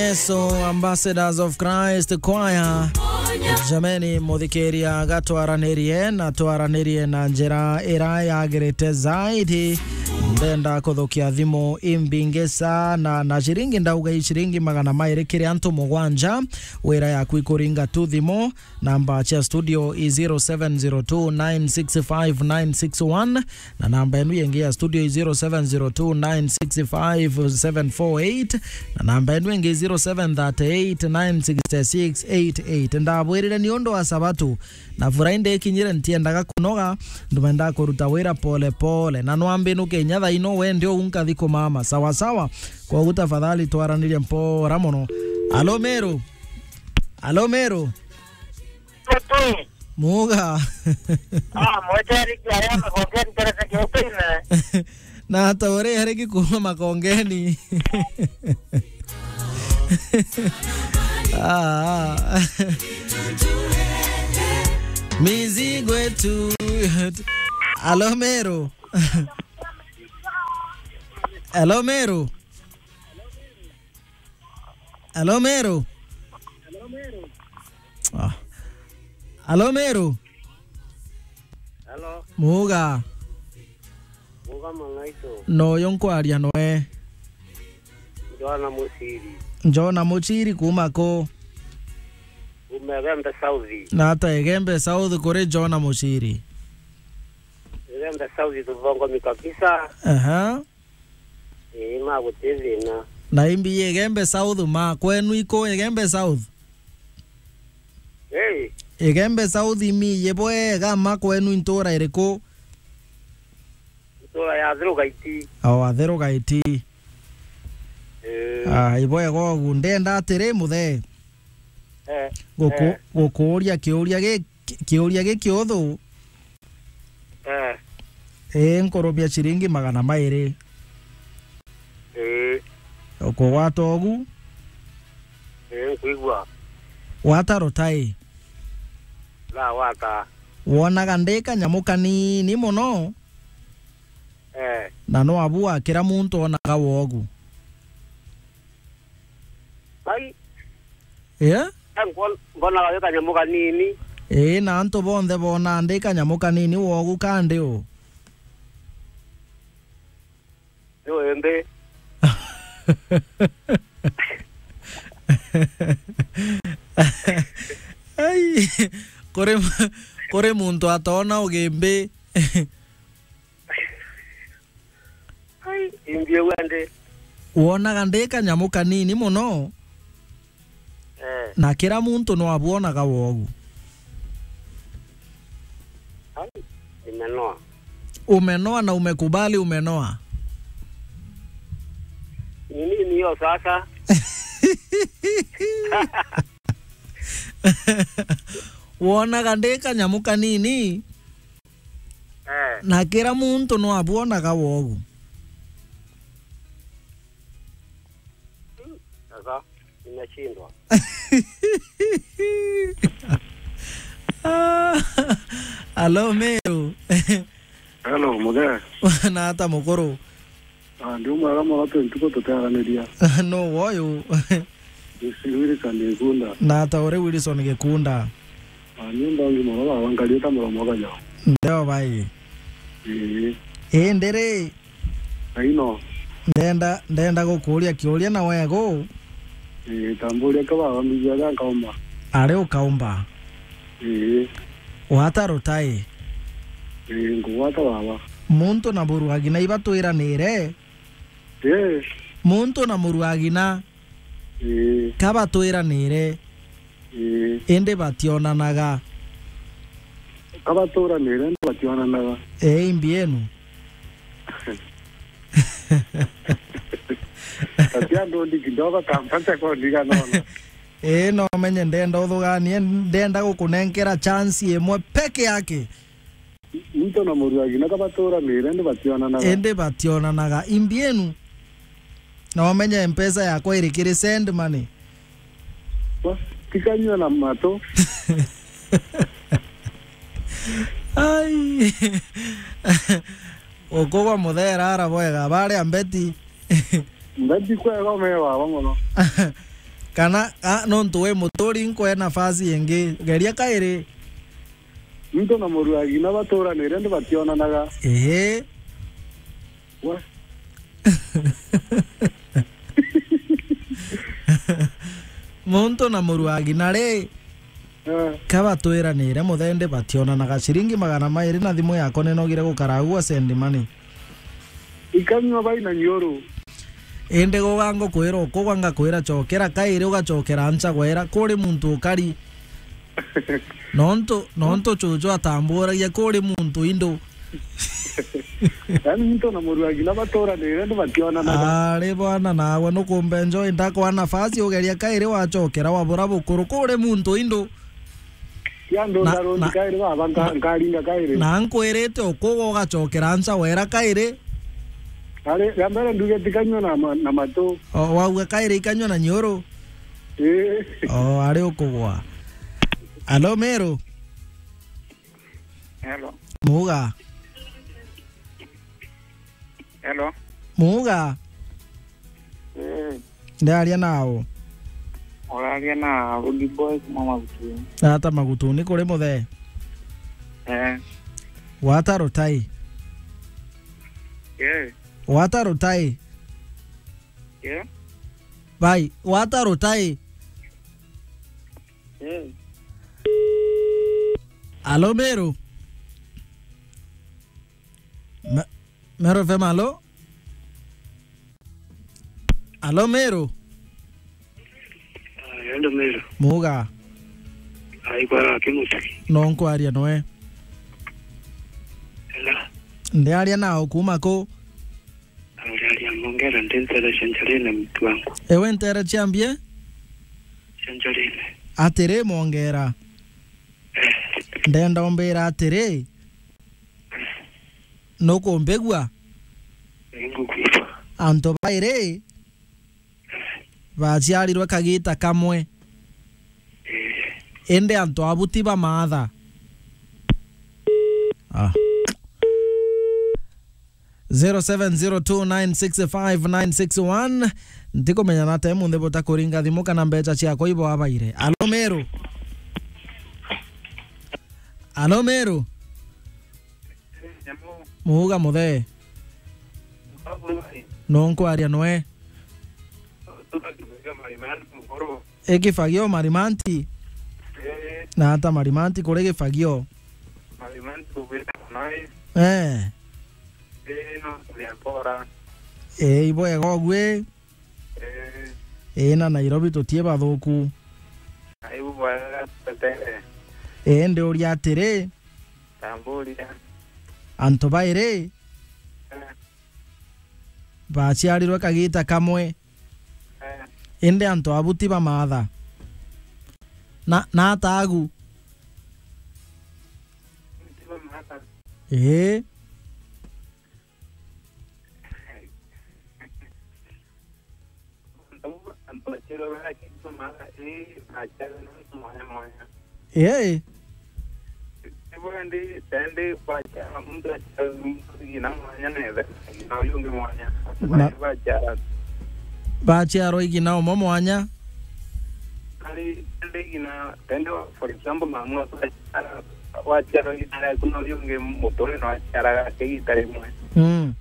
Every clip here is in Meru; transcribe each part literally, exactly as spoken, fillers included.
Yesu, Ambassadors of Christ Choir. Jameni, muthikiria, gatwaranirie na twaranirie na njira ira yagirite zaidi. Ndenda kuthukia thimu imbingi sana, na ciringi ndauga i ciringi magana mairi kiri antu mugwanja. Wira yaku ikuringa tu thimu. Namba cia studio i zero seven zero two nine six five nine six one, na namba enu yengi ya studio i zero seven zero two nine six five seven four eight, na namba enu yengi zero seven thirty eight nine six six eight eight. Ndabwirire ni undu wa Sabatu na Friday ikinyire, ntiendaga kunoga, ndumenda kuruta wira pole pole, na nwambinuke inya thaino wende uu nkathi kumama sawa sawa. Kogu tafadhali twaranirie mpora mono. Alo Meru. Alo Meru. Muga. Ah, mweteriki aria makongeni teresa kiutine. Na ata uri ariki kuuma makongeni. Ah. Mizigo yetu. Alo Meru. Alo Meru. Alo Meru. Ah. Alo Meru. Hello. Muga. Muga mang'aito. Noyo nkwaria noe. Jona Muchiri. Jona Muchiri kuuma ku? Kuuma Igembe South. Na ata Igembe South kuri Jona Muchiri? Igembe South tuthongomi kabisa. Aha. Ii, ma guti thina. Na imbi Igembe South ma kwenu iku Igembe South? Ii. Igembe South imiye bwega ma kwenu intura iriku? Ntura ya Athiru Gaiti. O Athiru Gaiti. Ii. Ah, ibwega ugu. Ndenda atiri muthe. Eh, guku-, eh. Gukuuria kiuria gi-, ki-, kiuria gikiuthu. Eh. Ii, nkurumia ciringi magana mairi. Ii. Ukugwata ugu? Ii, nkwigua. Gwata rutai. Ndagwata. Wonaga ndi kanyamu kanini mono? Eh. Na no abu akira muntu onaga wogu? Ai. Eh? Nkon-, nkonaga wi kanyamu kanini. Ii, na antu bonthe boonaa ndi kanyamu kanini wogu kandi u? Ni wimbi. Ai, kuri, kuri muntu atoona ugimbi. Ai, imbi uu andi. Wonaga ndi kanyamu kanini mono? Eh. Na kira muntu no abwonaga wogu. Ai, nimenoa. Umenoa na umekubali umenoa? Ni nini hiyo sasa? Wonaga ndi kanyamu kanini? Eh. Na kira muntu no abwonaga wogu. Sasa, nimeshindwa. Ah, alo, Meru. Hello, muthe. Na ata mukuru? Ah, ndi mwega mono, twi ntuku tutearaniria. No woyu. Ndi Wilson Gikunda. Na ata uri Wilson Gikunda? Ah, ni ndongi mono baba, nkarita muromo kaja. Ndeo bai. Ii. Ii, ndiri. Aino. Ndenda, ndenda gukuria kiuria na wegu. Ii, tamburia ka baba, mbijia ga nkaumba. Ari ukaumba? Ii. Wata rutai? Ii, nkugwata baba. Muntu na muruagina ibatwiranire? Ii. Muntu na muruagina? Ii. Kabatwiranire? Ii. Indi bationanaga? Kabaturanire, indi bationanaga. Ii, imbi enu? Ati andu ndi kidogo kampata kwa ndiga nono. Ii, no menye ndenda uthuganie, ndenda gukunenkera chance imwe peke yake. Muntu na muruagina kabaturanire, indi bationanaga. Indi bationanaga. Imbi enu? Na umenye mpesa yakwa iri kiri send money. Wa, tikanyua na matu. Ai. Ukugwa muthera ara bwega, baria mbeti. Mbeti kwega umewa baba mono. Kana, a, nontu we muturi, nkwe nafasi ingi. Geria kairi. Muntu na muru wa ng'ina baturanire, ndi bationanaga. Ehe. We. Muntu na muru wa ng'ina ri, eh, ka batwiranire muthende bationanaga. Ciringi magana mairi na thimu yakwa ninogire gukara agua send money. Ikanyua bai na nyoru. Indi guga ngukwira ukugwa, ngakwira cokera kairi, ugacokera ncha gwera, kuri muntu ukari. Nontu, nontu cucu atamburagia kuri muntu indu. Yaani muntu na muru wa ng'ina baturanire, ndi bationanaga. Ari bwana, nawe nukumbe njoe, ndakwa nafasi ugeria kairi wacokera wabura bukuru kuri muntu indu. Kiandu na, ndaroni na, kairi baba, nka-, na, nkaringa kairi. Na nkwirite ukuga ugacokera ncha wera kairi. Ari, ya mbere nduge tikanyua na ma-, na matu. O, wauga kairi ikanyua na nyoru. Ii. O, ari ukugwa. Alo, Meru. Hello. Muga. Hello. Muga. Eh. Ndaria nao. Uraria na Rudy Boy kuma Magutuni. Ata Magutuni kuri muthe? Eh. Wata rutai. Yeah. Wata rutai. Yeah. Bai, wata rutai. Yeah. Alo, Meru. Me-, Meru F M, alo? Alo, Meru? Ah, endo Meru. Muga. Ai, kwara kimuti. No nkwaria noe. Ela. Ndiaria nao kuma ku? Auriaria Mongera, ndi ntere cia Njarine, mtu wangu. Ewe ntere cia mbie? Cia Njarine. Atiri, Mongera. Eh. Ndenda umbira atiri, nukumbigua? Ningukwigua. Antu bairi baciarirwe kagita kamwe. Eh. Indi antu abu ti ba maatha. Ah. Zero seven zero two nine six five nine six one. Ntikumenya na te munthi butakuringa thimu kana mbecha ciakwa ibo abaire. Alo, Meru? Alo, Meru? Muga muthe. No nkwaria noe. Ikifagio Marimanti? Eh. Na ata Marimanti kuri gifagio? Marimanti kugwita kunai. Eh. Eh, no kuria kora. Eh, ibwega ugwi? Eh. Eh, na Nairobi tutie bathuku. Ai, ibwega tutere. Eh, ndiuria atiri. Tamburia. Antu bairi? Eh. Baciarirwe kagita kamwe. Eh. Indi antu abu ti ba maatha. Na, na ata agu? Ti ba maatha. Ii. Ii. Ibo indi, tendi kwaciara muntu aciara muntu igina mwanya na ethe na uyu ungi mwanya. Na baciara. Baciarwa igina umwe mwanya? Ari, tendi igina, tendi, for example, mamu aciara, waciarwa igina riaku na uyu ungi muturi no aciaraga ake igita rimwe. Mm.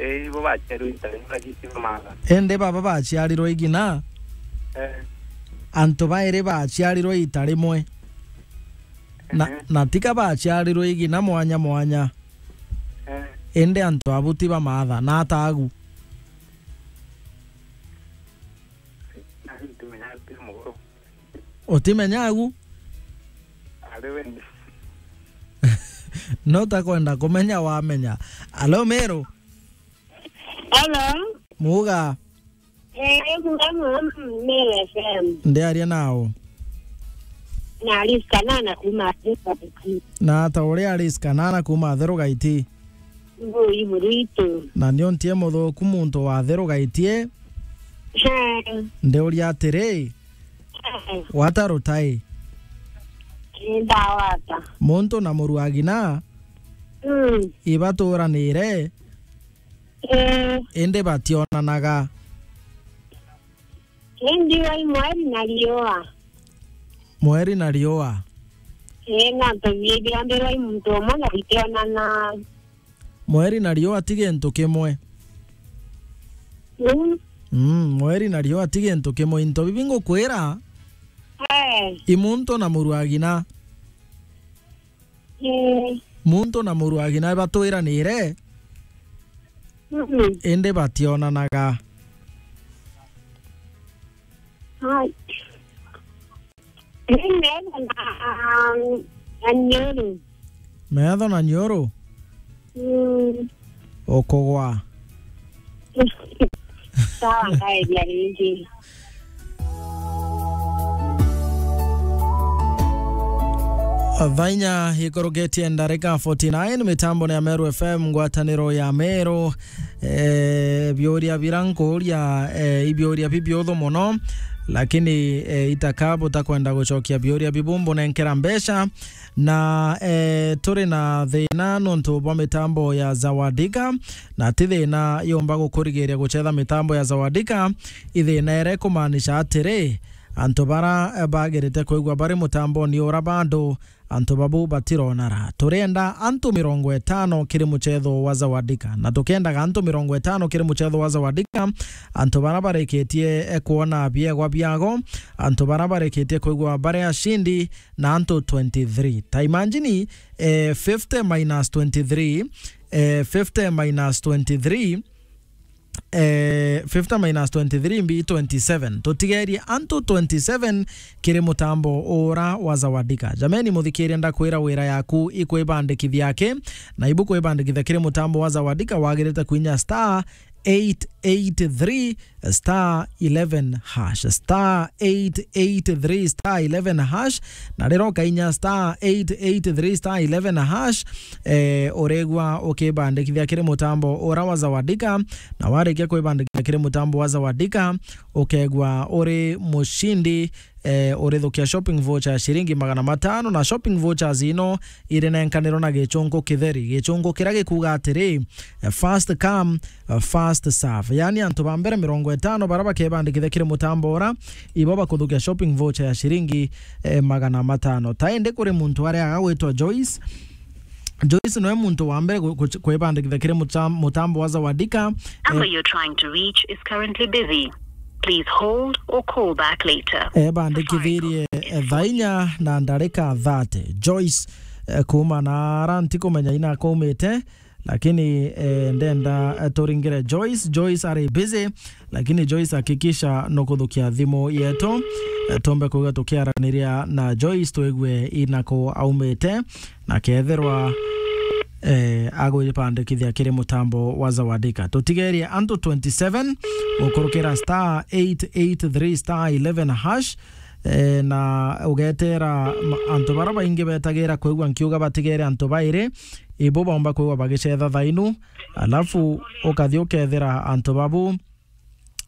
Ii, ibo baciarwa igita rimwe, lakini ti ba maatha. Indi baba baciarirwe igina? Eh. Antu bairi baciarirwe ita rimwe. Na, ehe, na tika baciarirwe igina mwanya mwanya. Eh. Indi antu abu ti ba maatha, na ata agu? Nani ntimenya ati muguru. Utimenya agu? Ari we. No takwenda kumenya wamenya. Alo, Meru? Hello. Muga. Eh, kuga mama, Meru F M. Ndiaria nao. Na Alice Kanana kuma Atheru Gaiti. Na ata uri Alice Kanana kuma Atheru Gaiti? Ngui muritu. Na nio ntie muthuku muntu wa Atheru Gaiti. Eh. Ndiuria atiri, eh, wata rutai? Ndawata. Muntu na muru agina? Mm. Ibaturanire? Eh. Indi bationanaga. Indi wai mweri na riua. Mweri na riua. Ii, na tubiithirwa mbirwa i muntu umwe na bitionana. Mweri na riua ti gintu kimwe. Mm. Mm, mweri na riua ti gintu kimwe. Into bibi ngukwira, eh, i muntu na muru agina. Eh. Muntu na muru agina batwiranire, mm, indi bationanaga. Hai. Ni metho na, na niuru. Metho na niuru? Mm. Ukugwa. Sawa, ngaeria ringi. Thaa inya ikurukitie ndarika forty nine, mitambo ni ya Meru F M, ngwataniro ya Meru. Eh, biuria bira nkuuria, eh, i biuria bibiuthu mono, lakini, eh, itaka butakwenda gucokia biuria bibu mbunenkera mbeca. Na, eh, turi na thina nontu bwa mitambo ya Zawadika, na ti thina yumba gukurigiria gucetha mitambo ya Zawadika. I thina iria ikumaanisha atiri, antu bara, eh, bagirite kwigua bari mutamboni ura bado, antu babu batirona ra. Turienda antu mirongo itano kiri mucetho wa Zawadika, na tukiendaga antu mirongo itano kiri mucetho wa Zawadika, antu bara barikitie, eh, kwona biegwa biago, antu bara barikitie kwigua bari ashindi, na antu twenty-three. Ta imagine, eh, fifty minus twenty-three, eh, fifty minus twenty-three, eh, fifty minus twenty-three mbi twenty-seven. Tutigerie antu twenty-seven kiri mutambo ura wa Zawadika. Jameni, muthikiria, ndakwira wira yaku ikwibandikithia ki, na ibu kwibandikithia kiri mutambo wa Zawadika, wagirite kuinya star eight eight three star eleven hash, star eight eight three star eleven hash, na riria ukainya star eight eight three star eleven hash, eh, uregua ukibandikithia kiri mutambo ura wa Zawadika, na warikia kwibandikithia kiri mutambo wa Zawadika, ukegua uri mushindi, eh, urithukia shopping voucher ya shilingi magana matano, na shopping vouchers ino irinenkanirwo na gichunku kitheri, gichunku kiria gikuuga atiri, eh, first come, eh, first serve. Yaani, antu ba mbere mirongo itano bara bakebandikithia kiri mutambo ura, ibo bakuthukia shopping voucher ya shilingi, eh, magana matano. Ta indi kuri muntu aria agagwitwa Joyce, Joyce noe muntu wa mbere ku-, ku-, kwibandikithia kiri muta-, mutambo wa Zawadika. Number, eh, you're trying to reach is currently busy. Please hold or call back later. Ebandikithirie, eh, thaa inya na ndarika thirty. Joyce, eh, kuuma na ara ntikumenya ina kaumite, lakini, eh, ndenda, eh, turingire Joyce. Joyce ari busy, lakini Joyce, hakikisha nukuthukia thimu yetu, eh, tumbe kuuga tukiaraniria na Joyce, twigue inaku aumite, na kethirwa, eh, agwibandikithia kiri mutambo wa Zawadika. Tutigerie antu twenty-seven gukurukira star eight eight three star eleven hash, eh, na ugetera ma-, antu bara baingi betagira kwigua nkiuga batigere antu bairi, ibo baumba kwigua bagicetha thainu, alafu ukathi ukethira antu babu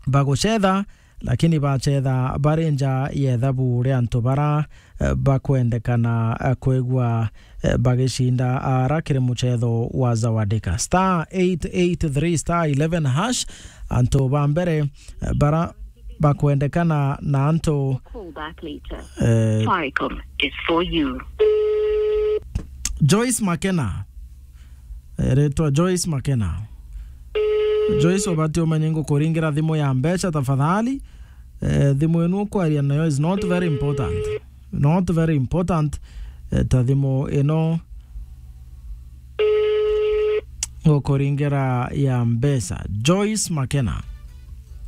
bagucetha, lakini bacetha bari nja ya ithabu ria antu bara, eh, bakwendekana, eh, kwigua, eh, bagicinda ara kiri mucetho wa Zawadika. Star eight eight three star eleven hash, antu ba mbere, eh, bara bakwendekana na antu, call back later, eh, Safaricom is for you. Joyce Makena. Eretwa Joyce Makena. Joyce, ubati umenye ngukuringira thimu ya mbeca tafadhali. Eh, thimu ino ukwaria nayo is not very important. Not very important. Eh, ta thimu ino ngukuringira ya mbeca. Joyce Makena.